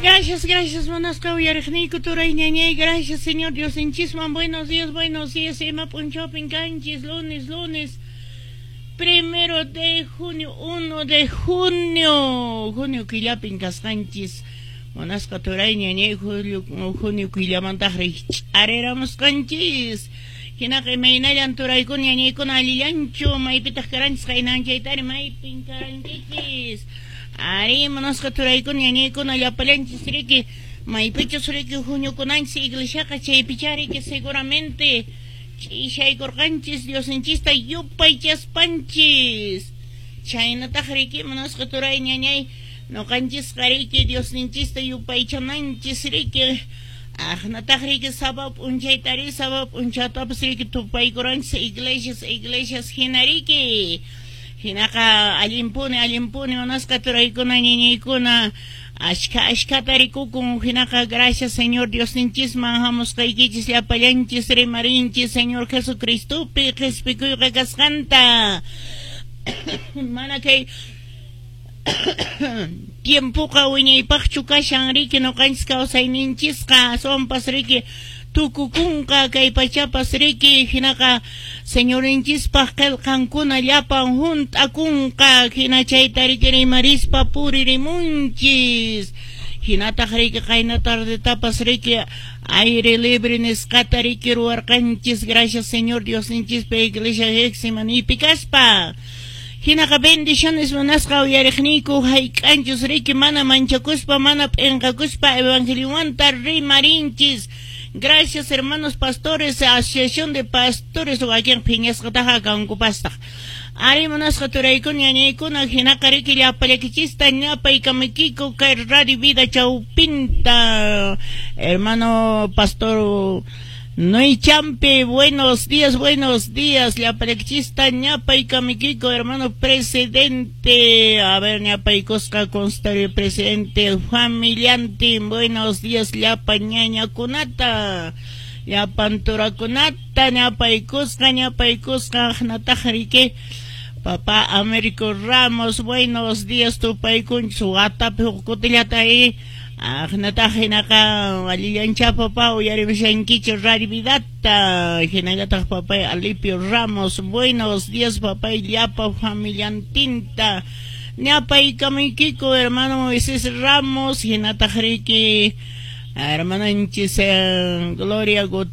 Gracias, gracias, munasqa uyariqniyku turay ñañay, gracias, Señor Diosninchisman. Buenos días, buenos días, ima p'unchawpin kanchis, lunes, lunes, 1 de junio, 1 de junio, junio killapin kasqanchis. Munasqa turay ñañay, julio, junio killamantaq rikch'ariramusqanchis. Hinaqa imaynallan turaykuna ñañaykuna, allillanchu? Maypitaq karanchis qaynanchaytari, maypin karankichis? Ari, munasqa turaykuna ñañaykuna, llapallanchis riki maypichus riki huñukunanchis iglesiaqa chaypichá riki seguramente ch'ishaykurqanchis Diosninchista yupaychaspanchis. Chaynataq riki, munasqa turay ñañay, ñuqanchisqa riki Diosninchista yupaychananchis riki. Aqnataq riki sábado p'unchaytari, sábado p'unchaytapas riki tupaykuranchis iglesias, iglesias hina riki. Hinaqa allinpuni, allinpuni, munasqa turaykuna ñañaykuna, ashka ashkata rikukun. Hinaqa gracias Señor Diosninchisman hamusqaykichis llapallanchis rimarinchis Señor Jesucristopi qhispikuyqa kasqanta. Mana kay tiempoqa wiñaypaqchu kashan riki ñuqanchis kawsayninchisqa, aswanpas riki tukukunqa kay pachapas riki. Hinaqa Señorinchispaq qillqankuna llapan hunt'akunqa, hina chayta riki rimarispa puririmunchis. Hinataq riki qayna tardetapas riki aire libre nisqata riki ruwarqanchis, gracias Señor Diosninchispa iglesia Getsemanipi kaspa. Hinaqa bendiciones, munasqa uyariqniyku, hayk'anchus riki mana manchakuspa, mana p'inqakuspa evangeliomanta rimarinchis. Gracias, hermanos pastores, asociación de pastores, wakin phiñasqataqa kankupastaq. Ari, munasqa turaykuna ñañaykuna, hinaqa riki llapallakichista ñapaykamuykiku kay Radio Vida chawpinta. Hermano pastor Noy Champe, buenos días, buenos días. Llapallakichista ñapaykamuykiku, hermano presidente. A ver, ñapaykusqa consultorio presidente familiantin. Buenos días, llapa ñañakunata. Llapan turakunata ñapaykusqa, ñapaykusqa nataq riki. Papá Américo Ramos, buenos días, tupaykunchis watapi huk kutillata y aqnataq hinaqa allillancha papá uyarimushankichu Radio Vidata. Hinallataq papay Alipio Ramos, buenos días, papay, llapa familiantinta ñapaykamuykiku. Hermano Moisés Ramos, hinataq riki hermananchis Gloria.